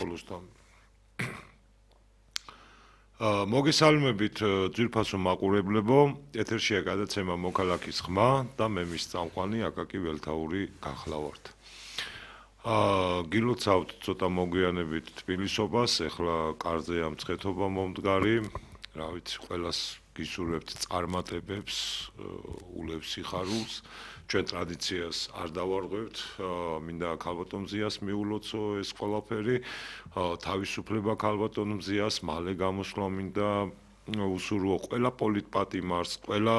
საქართველოსთან. მოგესალმებით ძვირფასო მაყურებლებო, ეთერშია გადაცემა მოქალაქის ხმა და მე მის წამყვანი აკაკი ველთაური გახლავართ. გილოცავთ ცოტა მოგვიანებით თბილისობას, ეხლა კარზე ამწხეთობა მომდგარი, რა ვიცი, ყველას გისურვებთ წარმატებებს, ულევს სიხარულს, ჩვენ ტრადიციას არ დავარღვევთ, მინდა ქალბატონ მზიას მიულოცო ეს ყველაფერი, თავისუფლება ქალბატონ მზიას, მალე გამოსვლა მინდა უსურვო ყველა პოლიტპატიმარს, ყველა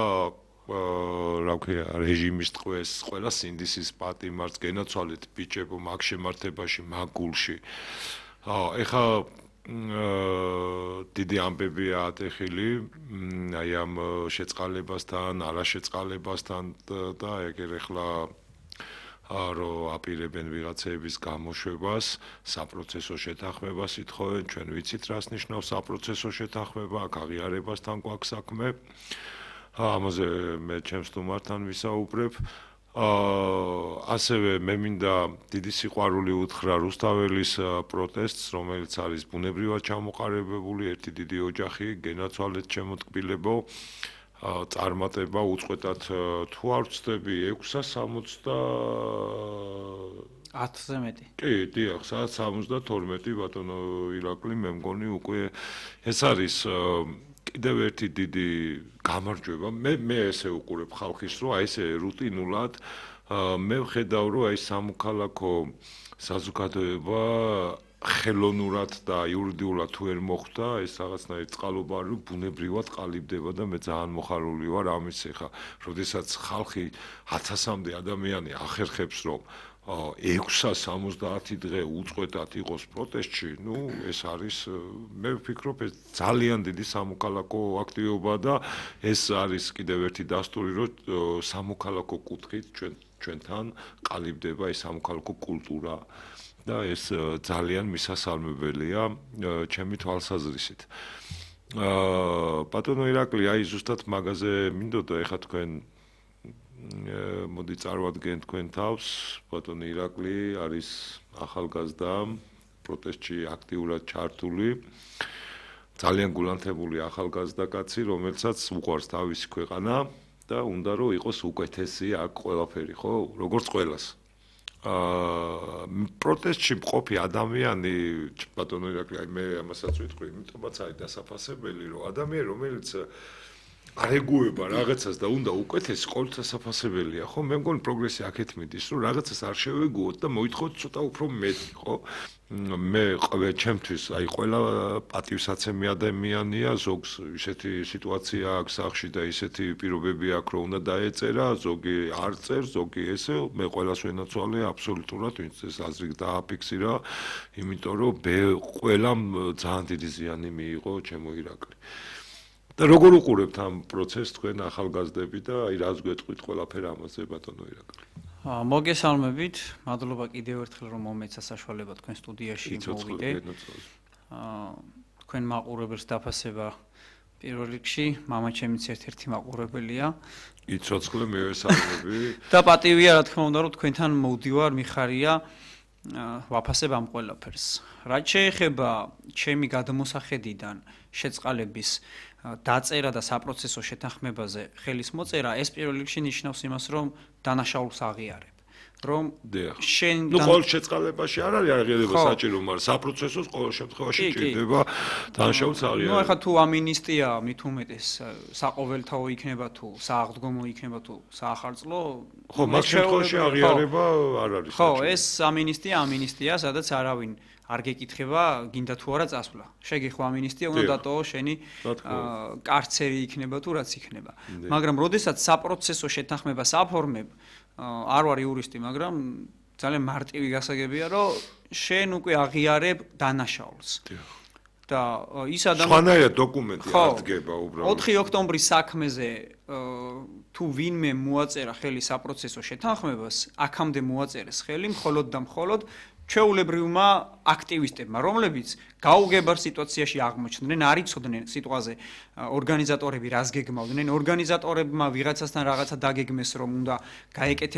რა ქვია, რეჟიმის ტყვეს, ყველა სინდისის პატიმარს, გენაცვალეთ ბიჭებო მაგ შემართებაში, მაგ გულში. ეხლა დიდი ამბებია ატეხილი, აი ამ შეწყალებასთან, არაშეწყალებასთან და ეგერ ეხლა რომ აპირებენ ვიღაცეების გამოშვებას, საპროცესო შეთანხმებას ითხოვენ, ჩვენ ვიცით რას ნიშნავს საპროცესო შეთანხმება, აქ აღიარებასთან გვაქვს საქმე. ამაზე მე ჩემს სტუმართან ვისაუბრებ. ასევე მე მინდა დიდი სიყვარული უთხრა რუსთაველის პროტესტს, რომელიც არის ბუნებრივად ჩამოყალიბებული ერთი დიდი ოჯახი, გენაცვალეთ შემოტკბილებო, წარმატება უწყვეტად თუ არ ვცდები 6:10-ზე მეტი. კი, დიახ, 6:72 ბატონო ირაკლი, მე მგონი უკვე ეს არის კიდევ ერთი დიდი გამარჯვება. მე ესე უყურებ ხალხის, რომ აი ესე რუტინულად მე ვხედავ, რომ აი სამოქალაქო საზოგადოება ხელოვნურად და იურიდიულად თუ ვერ მოხვდა, ეს რაღაცნაირი წყალობა არის, ბუნებრივად ყალიბდება და მე ძალიან მოხარული ვარ ამის ეხა, როდესაც ხალხი 1000-მდე ადამიანი ახერხებს, რომ 670 დღე უწყვეტად იყოს პროტესტში, ნუ ეს არის, მე ვფიქრობ, ეს ძალიან დიდი სამოქალაქო აქტივობა და ეს არის კიდევ ერთი დასტური, რომ სამოქალაქო კუთხით ჩვენთან ყალიბდება ეს სამოქალაქო კულტურა და ეს ძალიან მისასალმებელია ჩემი თვალსაზრისით. ბატონო ირაკლი, აი ზუსტად მაგაზე მინდოდა ეხლა თქვენ მოდი წარვადგენ თქვენ თავს, ბატონი ირაკლი არის ახალგაზრდა, პროტესტში აქტიურად ჩართული, ძალიან გულანთებული ახალგაზრდა კაცი, რომელსაც უყვარს თავისი ქვეყანა და უნდა რომ იყოს უკეთესი აქ ყველაფერი, ხო? როგორც ყველას. პროტესტში მყოფი ადამიანი, ბატონო ირაკლი, აი მე ამასაც ვიტყვი, იმიტომაც არის დასაფასებელი, რომ ადამიანი, რომელიც არ ეგუება რაღაცას და უნდა უკეთესი, ყოველთვის დასაფასებელია, ხო? მე მგონი პროგრესი აქეთ მიდის, რომ რაღაცას არ შევეგუოთ და მოითხოვოთ ცოტა უფრო მეტი, ხო? მე ჩემთვის, აი ყველა პატივსაცემი ადამიანია, ზოგს ისეთი სიტუაცია აქვს სახში და ისეთი პირობები აქვს, რომ უნდა დაეწერა, ზოგი არ წერს, ზოგი ესე, მე ყველას ვენაცვალე აბსოლუტურად, ვინც ეს აზრი დააფიქსირა, იმიტომ რომ ყველამ ძალიან დიდი ზიანი მიიღო ჩემო ირაკლი. და როგორ უყურებთ ამ პროცესს თქვენ ახალგაზრდები და აი რას გვეტყვით ყველაფერ ამაზე ბატონო ირაკლი? მოგესალმებით, მადლობა კიდევ ერთხელ რომ მომეცა საშუალება თქვენ სტუდიაში მოვიდე. თქვენ მაყურებელს დაფასება პირველ რიგში, მამაჩემიც ერთ-ერთი მაყურებელია. იცოცხლე მე ვესალმები. და პატივია რა თქმა უნდა რომ თქვენთან მოვდივარ, მიხარია ვაფასებ ამ ყველაფერს. რაც შეეხება ჩემი გადმოსახედიდან შეწყალების დაწერა და საპროცესო შეთანხმებაზე ხელის მოწერა, ეს პირველ რიგში ნიშნავს იმას, რომ დანაშაულს აღიარებ. რომ შენ ნუ ყოველ შეწყალებაში არ არის აღიარება საჭირო, მაგრამ საპროცესოს ყოველ შემთხვევაში ჭირდება დანაშაულს აღიარება. ნუ ახლა თუ ამინისტია მით უმეტეს საყოველთაო იქნება თუ სააღდგომო იქნება თუ საახალწლო, ხო, მაგ შემთხვევაში აღიარება არ არის საჭირო. ხო, ეს ამინისტია, სადაც არავინ არ გეკითხება, გინდა თუ არა წასვლა. შეგეხვა ამინისტია, უნდა დატოვო შენი კარცერი იქნება თუ რაც იქნება. მაგრამ როდესაც საპროცესო შეთანხმებას აფორმებ, არ ვარ იურისტი, მაგრამ ძალიან მარტივი გასაგებია, რომ შენ უკვე აღიარებ დანაშაულს. და ის ადამიანი სხვანაირად დოკუმენტი აღდგება უბრალოდ. 4 ოქტომბრის საქმეზე თუ ვინმე მოაწერა ხელი საპროცესო შეთანხმებას, აქამდე მოაწერეს ხელი მხოლოდ და მხოლოდ ჩვეულებრივმა აქტივისტებმა, რომლებიც გაუგებარ სიტუაციაში აღმოჩნდნენ, არ იცოდნენ სიტყვაზე ორგანიზატორები რას გეგმავდნენ, ორგანიზატორებმა ვიღაცასთან რაღაცა დაგეგმეს, რომ უნდა გაეკეთებინათ